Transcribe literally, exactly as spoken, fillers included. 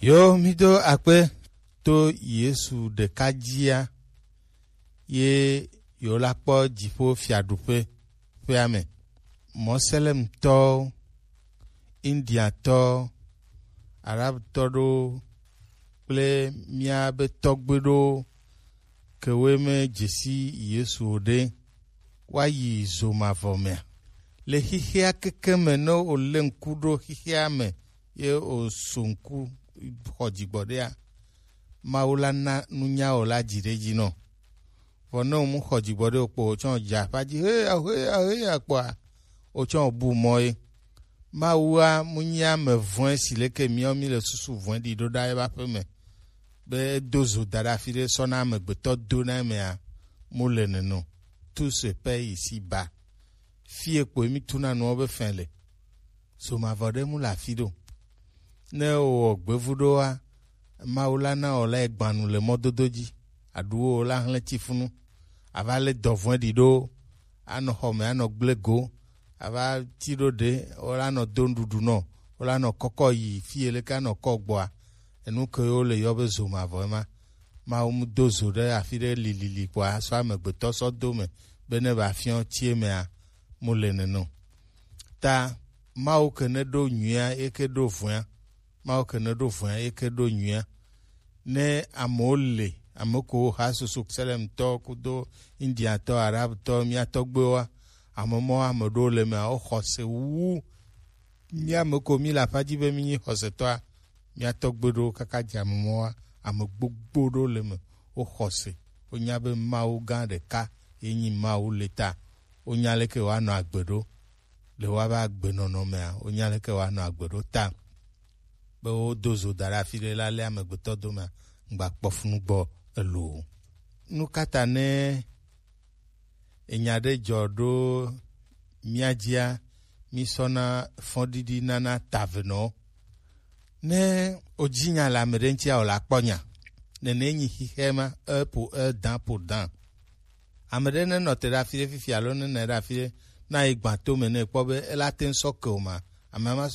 Yo, mi do akpe to Yesu ɖeka jia, ye yo la kpɔ dziƒo fiaɖuƒe ƒea me. Mɔselemtɔwo, Indiatɔwo, Arabtɔ ɖewo kple míabe tɔgbe ɖewo kewoe me dzesi Yesu o ɖe, woayi zo mavɔ mea? Le xixea keke me ne wòlé ŋku ɖo xixea me ye wòso ŋku xɔ dzigbɔɖia, Mawu la na nunya wòla dzi ɖe edzi nɔ. Vɔ ne wòmu xɔ dzigbɔɖi o kpo, wòtsɔ dze aƒa dzi heya heya heya kpoa, wòtsɔ bu mɔ ye. Mawua mu nyi ame vɔ̃e si leke miawo mi le susu vɔ̃e ɖi ɖo ɖa eƒe aƒe me, be edo zo da ɖe afi ɖe sɔ na amegbetɔ do na emea, mu le neno. Tout se paie ici-bas. Fie kpoe mi tuna nuwo be fɛn le. Zo mavɔ ɖe mu le afi ɖo. Ne wowɔ gbevu ɖoa, Mawu la na wòla egbanu le mɔdodo dzi. Aɖuwo wòla hlẽ tsifunu. Ava lé dɔvɔ̃e ɖi ɖo. Anɔ xɔ me, anɔ gblẽ go. Ava ti ɖo ɖe, wòla nɔ do nuɖuɖu nɔ. Wòla nɔ kɔkɔ yi fi yi leke anɔ kɔ gbɔa. Enu ke wole yɔ be zo mavɔ ema. Mawu mu do zo ɖe afi ɖe lilili kpoa sɔ amegbetɔ sɔ do me be ne va fiɔ tsi emea, mu le neno. Ta Mawu ke ne ɖo nyuia, ye ke ɖo vɔ̃a. Mawu ke ne ɖo vɔ̃a, ye ke ɖo nyuia. Ne amewo le, ame ko ha susu Selemtɔ kudo Indiatɔ, Arabtɔ, mía tɔgbewoa, ame mɔ ame ɖewo le mea, wo xɔse wu mía ame ko mi le aƒa dzi be mi nyi xɔsetɔa, mía tɔgbe ɖewo kaka dze ame mɔa, ame gbogbo ɖewo le me, wo xɔse, wonya be Mawu gã ɖeka ye nyi Mawu le ta, wonya leke woanɔ agbe ɖo. Le woabe agbenɔnɔ mea, wonya leke woanɔ agbe ɖo ta. Be wodo zo da ɖe afi ɖe la lé amegbetɔ domea, ŋgba kpɔ funu gbɔ elo o. Nu ka ta ne enya ɖe dzɔ ɖo mía dzia, mísɔna fɔɖiɖi nana tavenɔwo. Ne wodzi nya le ame ɖe ŋutia, wòle akpɔ nya. Nene nyi xixɛ ma, e pour un, dent pour dent. Ame ɖe ne nɔ te ɖe afi ɖe fifi alo ne nɔ ɖe afi ɖe, na yi gbã to me ne ekpɔ be ela te ŋu sɔ ke o ma, ame ma